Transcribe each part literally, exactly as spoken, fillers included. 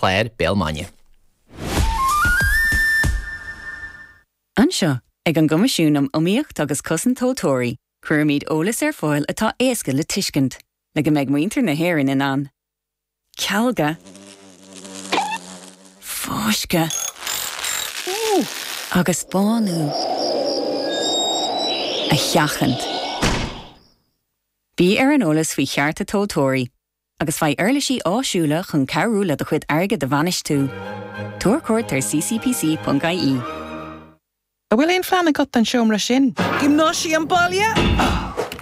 Chláir, Béal Maine. Anseo, ag an gCoimisiún um Iomaíocht agus Cosaint Tomhaltóirí, cuirimid eolas ar fáil atá éasca le tuiscint, le go mbeidh muintir na hÉireann in ann cealga, fáisceadh agus bánú a sheachaint. Bí ar an eolas faoi chearta tomhaltóirí, agus faigh uirlisí áisiúla chun cabhrú le do chuid airgid a bhainistiú. Tabhair cuairt ar ccpc.ie. An bhfuil aon phlean agat don seomra sin? Giomnáisiam baile?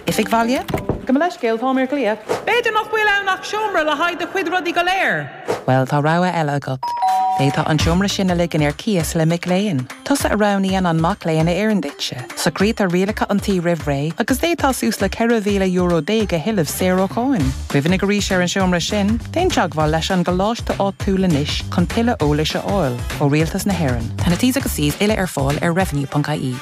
Oifig bhaile? Gabh mo leithscéal, táim ar glaoch. B'fhéidir nach bhfuil ann ach seomra le haghaidh do chuid rudaí go léir. Bhuel, tá rogha eile agat. D'fhéadfá an seomra sin a ligean ar cíos le mic léinn. Tusa a roghnaíonn an mac léinn a oireann duitse. Socraítear rialacha an tí roimh ré agus d'fhéadfá suas le ceithre mhíle euro déag a thuilleamh saor ó cháin. Cuimhnigh arís ar an seomra sin, déan teagmháil leis an gcoláiste áitiúil anois chun tuilleadh eolais a fháil ó Rialtas na hÉireann. Tá na T's agus C's uile ar fáil ar revenue.ie.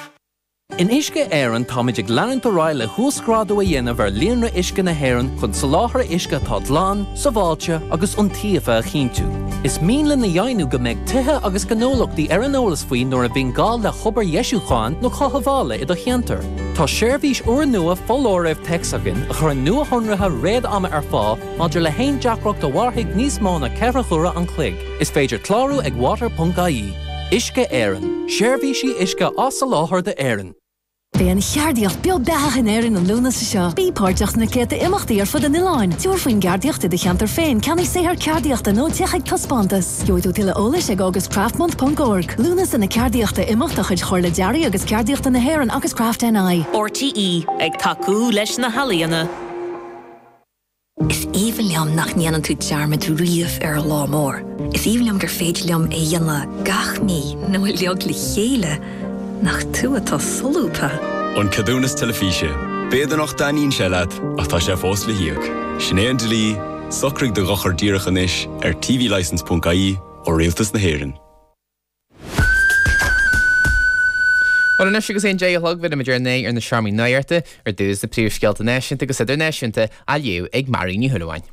In Uisce Éireann táimid ag leanúint ar aghaidh le huasghrádú a dhéanamh ar líonra uisce na hÉireann chun soláthar uisce atá glan, sábháilte agus iontaofa a chinntiú. Is mian linn a dheimhniú go mbeidh tithe agus gnólachtaí ar an eolas faoi nuair a bhíonn gá le hobair dheisiúcháin nó cothabhála i do cheantar. Tá seirbhís úrnua foláirimh téacs againn a chuireann nuashonruithe réad-ama ar fáil maidir le haon deacracht a mhairfidh níos mó ná ceithre huaire an chloig. Is féidir clárú ag water.ie. Uisce Éireann, seirbhísí uisce á soláthar d'Éirinn. Beidh an cheardaíocht beo beathach in Éirinn an Lúnasa seo. Bí páirteach sna céadta imeachtaí ar fud an oileáin. Tabhair faoin gceardaíocht i do cheantar féin, ceannaigh saothar ceardaíochta nó téigh chuig taispeántas. Gheobhaidh tú tuilleadh eolais ag augustcraftmonth.org. Lúnasa na Ceardaíochta imeacht de chuid Chomhairle Dearaidh agus Ceardaíochta na hÉireann agus Craft NI. RTÉ, ag tacú leis na healaíona. Is aoibhinn liom nach ndéanann tú dearmad riamh ar an lá mór. Is aoibhinn liom gur féidir liom é a dhéanamh gach mí nó uilig le chéile, nach tú atá solúbtha. An ceadúnas teilifíse. B'fhéidir nach dtaitníonn sé leat ach tá sé fós le híoc. Sin é an dlí, socraigh do dhochar díreach anois ar tvlicence.ie ó Rialtas na hÉireann. Bhuel anois agus é an deich a chlog bheidh muid ar aghaidh ar na seomraí nuachta ar dtús na príomhscéalta náisiúnta agus idirnáisiúnta á léamh ag Mary Ní Shúilleabháin.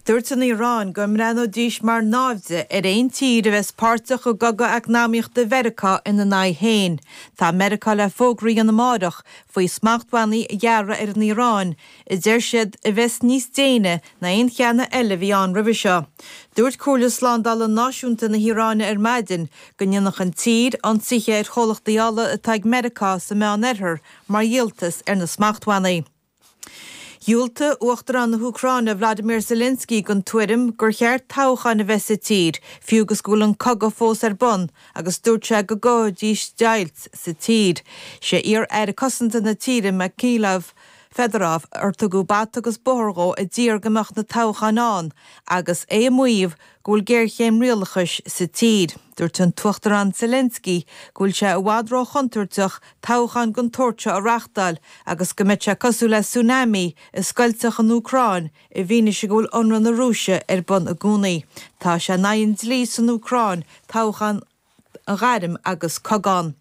Dúirt an Iaráin go mbreathnóidís mar naimhde ar aon tír a bheas páirteach i gcogadh eacnamaíochta Mheiriceá ina n-aghaidh féin. Tá Meiriceá le fógra a dhéanamh amárach faoi smachtbhannaí a ghearradh ar an Iaráin, a deir siad a bheas níos déine ná aon cheann eile a bhí ann roimhe seo. Dúirt Comhairle Slándála Náisiúnta na hIaráine ar maidin go ndéanfadh an tír ionsaithe ar chomhlachtaí ola atá ag Meiriceá sa Meánoirthear mar dhíoltas ar na smachtbhannaí. Dhiúltaigh Uachtarán na hÚcráine Vladimir Zelensky don tuairim gur cheart toghcháin a bheith sa tír, fiú agus go bhfuil an cogadh fós ar bun, agus dúirt sé go gcothóidís deighilt sa tír. Sé iar-aire cosanta na tíre Mykhailo Fedorov ar tugadh bata agus bóthar dhó a d'iarr go mbeadh na toghcháin ann agus é ag maíomh go bhfuil géarchéim rialachais sa tír. Dúirt an tUachtarán Zelensky go bhfuil sé i bhfad róchontúirteach toghcháin den tsórt seo a reáchtáil agus go mbeadh sé cosúil le tsunami a scoiltfeadh an Úcráin i bhfianaise go bhfuil ionradh na Rúise ar bun i gcónaí. Tá sé in aghaidh an dlí san Úcráin toghchán a ghairm agus cogadh ann.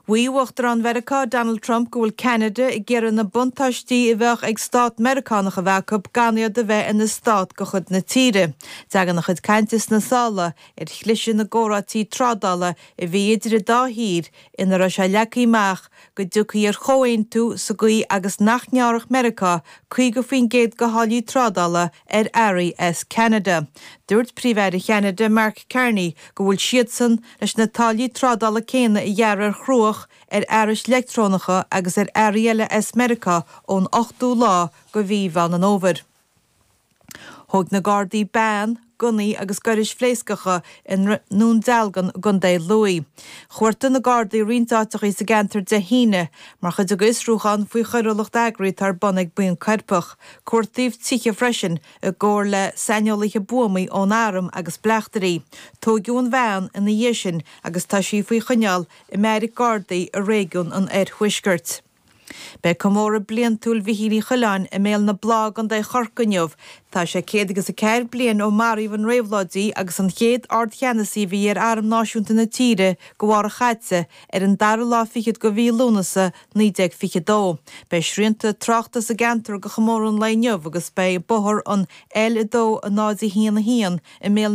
Mhaígh Uachtarán Mheiriceá Donald Trump go bhfuil Ceanada ag iarraidh na buntáistí a bheadh ag stát Meiriceánach a bheith acu gan iad a bheith ina stát de chuid na tíre. Tagann a chuid cainte sna sála ar chliseadh na gcomhráití trádála a bhí idir an dá thír ina raibh sé leagtha amach go dtiocfaí ar chomhaontú sa gcaoi agus nach ngearrfadh Meiriceá caoga faoin gcéad de tháillí trádála ar earraí as Ceanada. Dúirt Príomh-Aire Cheanada Mark Carney go bhfuil siadsan leis na táillí trádála céanna a ghearradh ar chruach, ar fhearais leictreonacha agus ar earraí eile as Meiriceá ón ochtú lá de mhí Mheán an Fhómhair. Thóg na Gardaí bean, gunnaí agus gairis phléascacha i nDún Dealgan i gContae Lú. Chuartaigh na Gardaí roinnt áiteachaí sa gceantar Dé hAoine mar chuid de fhiosrúchán faoi choiriúlacht eagraithe atá ar bun ag buíon coirpeach. Cuartaíodh tithe freisin i gcomhar le saineolaithe buamaí ón Arm agus bleachtairí. Tóigeadh an bhean ina dhiaidh sin agus tá sí faoi choinneáil i mbeairic Gardaí i réigiún an Oirthuaiscirt. Beidh comóradh bliantúil Mhichíl Uí Choileáin i mBéal na Blá i gContae Chorcaí inniu. Tá sé céad agus a ceathair bliain ó maraíodh an réabhlóidí agus an chéad Ard-Cheannasaí a bhí ar Arm Náisiúnta na tíre go Mháirt Chaite ar an dara lá fichead de mhí Lúnasa naoi déag fiche dó. Beidh srianta tráchta sa gceantar do chomóradh an lae inniu agus beidh bóthar an L a dó a náid a haon a haon i mBéal